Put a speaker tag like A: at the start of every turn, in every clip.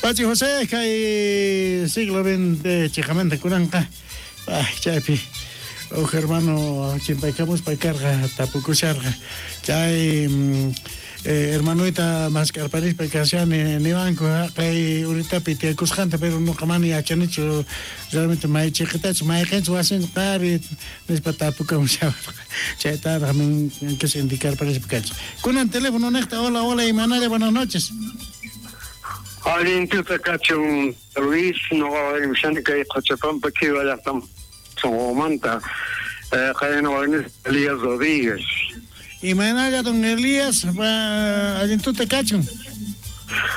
A: Pachi José, kay siglo XX chiqamanta kunanqa, ay, chaypi uj hermano chimpaykamuspa karqa, tapukusharqa. Chay hermanoyta mask'arparispa kashani niwanku haqay uritapi tiyakusqanta, pero noqa mana yachanichu realmente may chiqitachu, mayqenchu wasinchu qari nispa tapukamushawarqa. Chaytaraq min quise indicarparispa kachun. Kunan teléfono niqta, hola, hola, imanalla, buenas noches.
B: Allin tuta kachun, Luis, noqa waymushani kay Qochapampa Kiwa llaqtam sonqomanta, qayna waymis Elías Rodríguez.
A: Imaynalla, don Elías, allin tuta kachun.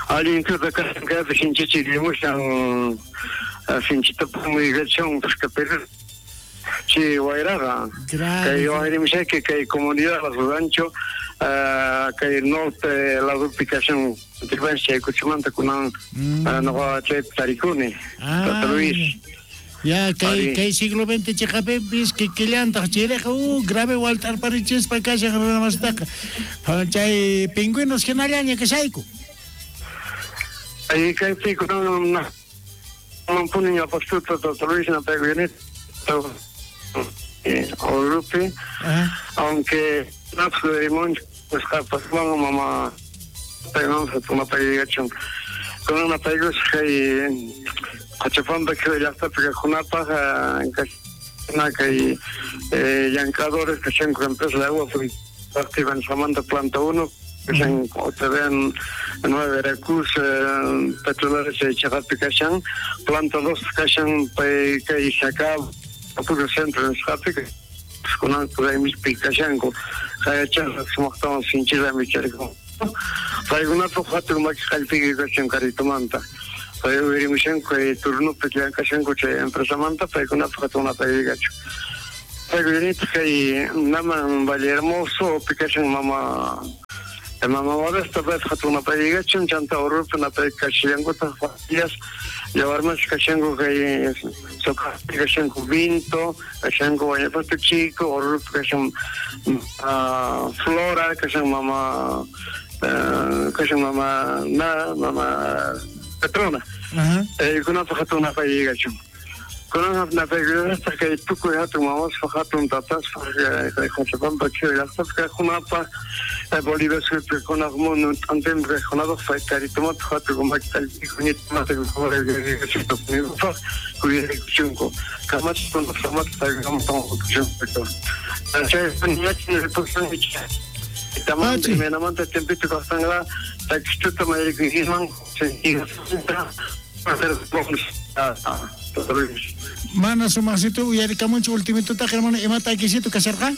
B: Allin tuta kachun, kaypi sinchichi rimushan, sinchita pumuykachion pescapero. Chi wayraqa. Kay wayrimushayki kay comunidad Los Rancho, kay norte ladopi kashan chay kuchimanta kunan noqa chaypi tarikuni. Tata Luis.
A: Ya, kay siglo XX chiqapipis kikillantaq chiriqa, grave walt'arparichispa kashan runamastaqa. Chay pingüinos hinallaña kashayku.
B: Ay, kaypi kunan puni ñawpaqtuta Tata Luis napaykuyanita Orupi, aunque napsurimunchu nisqapas mama paymanpas mapayachun. Kunan napaykusaq kay Qochapampa Kiwa llaqtapi kaqkunapaq na kay llank'adores kashanku empresa de agua activa nisqamanta planta 1 kashan OTV 9 Veracruz petrolera chay chaqapi kashan planta 2 kashan pay kay Sacab Apuro Centro nisqapi kunan raymispi kashanku qayachasqa sumaqtawan sinchirami charikun paykunapaq hatun maki qallpiyki kashan karitumanta pay uyarimushanku kay turnupi llank'ashanku chay empresamanta paykunapaq hatun napaykachu paykunapaq kay naman Valle Hermoso pi kashan mama Modesta paypaq hatun napaykachun chanta Orupi napaykashallankutaq familias yawarmas kashanku kay Socapi kashanku Vinto kashanku Guayapato Chico Orupi kashan Flora kashan mama kashan mama na mama Petrona kunapaq hatun napaykachun kunan napaykullastaq kay tukuy hatun mamaspaq hatun tataspaq kay Qochapampa Kiwa llaqtapi kaqkunapaq Bolivia suyupi kaqkunapaq mundo t'antinpi kaqkunapaq pay karitumata hatun maki qallpiyku ñitumata kuyarikuchunku kamachikuna samata paykunaman chay ñachni tamanta imaynamanta tiempito kaqtanqa takistuta mayrikuykiman
A: Mana sumaqsito uyarikamunchu ultimitutaqa hermano ima takisito kasharqa?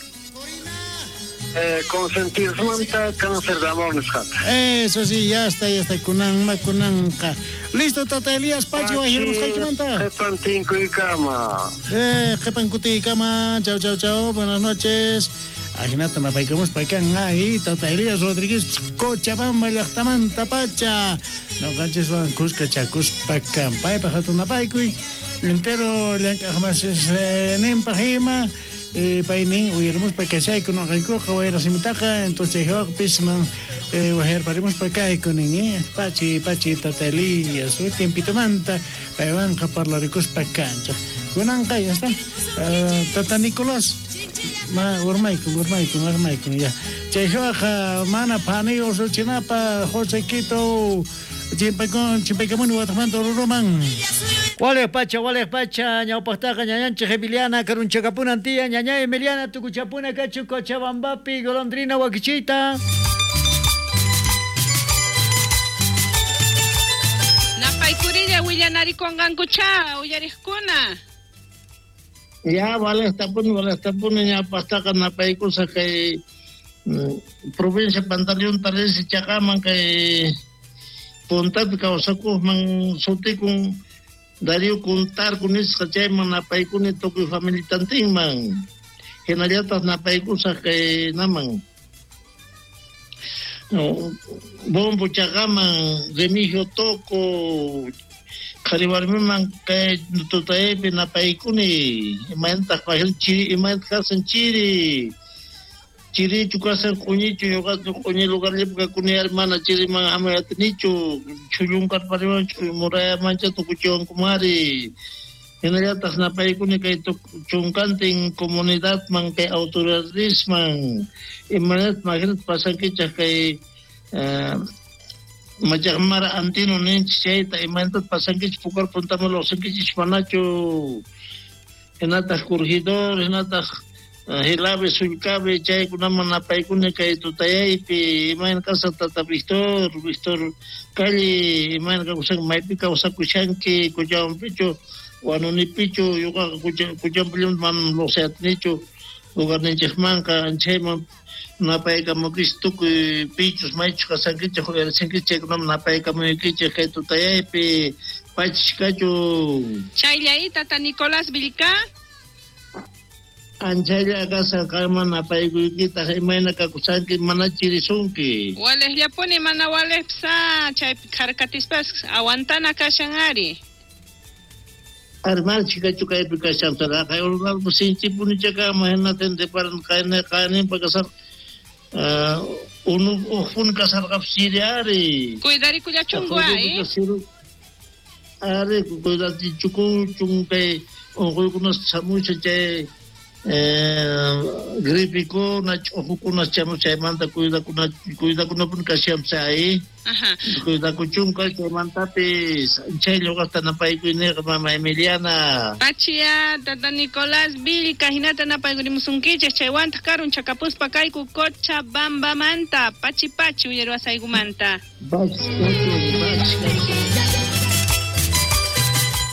B: Consentirmanta cáncer de amor nisqata.
A: Eso sí, ya está, kunanma kunanqa. Listo, Tata Elías Pachi, wajirmusqaykimanta.
B: Qhepan tinkuykama.
A: Qhepan kutiykama. Chau, chau, chau. Buenas noches. Ajinata napaykamuspa kan ahí Tata Elías Rodríguez Cochabamba llaqtamanta pacha. Noqanchiswan kuska chakuspa kan paypaq hatun napaykuy. Entero llank'aqmasis ninpaq ima. Paynin uyarimuspa kashayku noqaykuqa wayrasimitaqa entonces chayhawaqpis man wajayarparimuspa kayku nin pachi pachi Tata Elías tiempitomanta paywanqa parlarikuspa kanchaq kunanqa ya está Tata Nicolás ma urmaykun ya chayhawaq mana phani usuchinapa José Quito chimpaykamuni wataqmanta Oruroman.
C: Waleq pacha, ñawpaqtaqa ñañanchik Emiliana karunchakapunan tiyan, ñaña Emiliana tukuchapuna kachu Cochabambapi golondrina wakichita.
D: Napaykurilla willanarikunqankucha uyariqkuna.
E: Ya waleqtapuni ñawpaqtaqa napaykusa kay provincia Pantaleón Talesi chaqaman kay puntapi kawsakuqman sutikun Darío Kuntarku nisqa chayman napaykuni tukuy familitantinman hinallataq napaykusaq kay naman Bombo chaqaman Remigio Toco qhari warmiman kay tutaypi napaykuni imaynataq pajil chiri imaynataq kasan chiri Chirichu kasan q'uñichu ñuqa q'uñi lugarllapi kakuni ari mana chiriman hamay atinichu chhullunkarpariwan murayamancha tukuchiwankumari. Hinallataq napaykuni kay chunkantin comunidadman kay autoridadisman imanat maginat pasankichaq kay machaqmara antino ninchik chayta imanat pasankichik pukar puntaman lluqsinkichik manachu hinataq corregidor hinataq Hilabe sullkabe chaykunaman napaykuni kay tutayaypi imayna kasan tata Víctor Víctor Calle imayna kawsan maypi kawsakushanki Cochabampichu Wanunipichu ñuqaqa Cochabampillaman manam lluqsiyatinichu lugarninchikmanqa anchayman napaykamukichik tukuy pichus maychus kasankichik uyarisinkichik chaykunaman napaykamuykichik kay tutayaypi pachishkachu.
D: Chayllay tata Nicolás Vilca.
E: Anchaylla kasan qanman napaykuykitaq imayna kakusanki mana chirisunki.
D: Walejllapuni mana walejpsa chaypi kharkatispas aguantana kashan ari.
E: Armal chikachu kaypi kashan saraqay urunalpu sinchipuni chakama hinatin reparan qayninpa kasar unu uqpuni kasarqapis chiri ari.
D: Cuidarikullachunku ay.
E: Ari cuidatichukuchun kay unquykunas chamusha chay gripikuna ch'ujukuna chamusha chaymanta cuidakunapuni kashanpis ay. Cuidakuchunka chaymantapis chay lluqasta napaykuyniqa mama Emiliana.
D: Pachia tata Nicolás Vilca hinata napaykurimusunkichik chaywantaq karun chakapuspa kayku Cochabambamanta pachi pachi uyariwasaykumanta.
E: Pachi pachi pachi.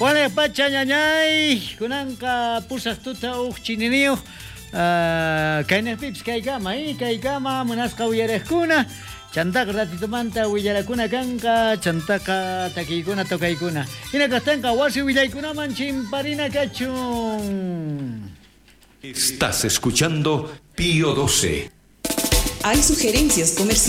C: Wale pacha ñañay kunanqa pusaq tuta uq chininiyuq kaynaqpipis kaykama kaykama munasqa uyariqkuna chantaqa ratitumanta willarakuna kanqa chantaqa takiykuna tokaykuna hina kaqtanqa wasi willaykunaman chimparina kachun.
F: Estás escuchando Pío 12.
G: Hay sugerencias comerciales.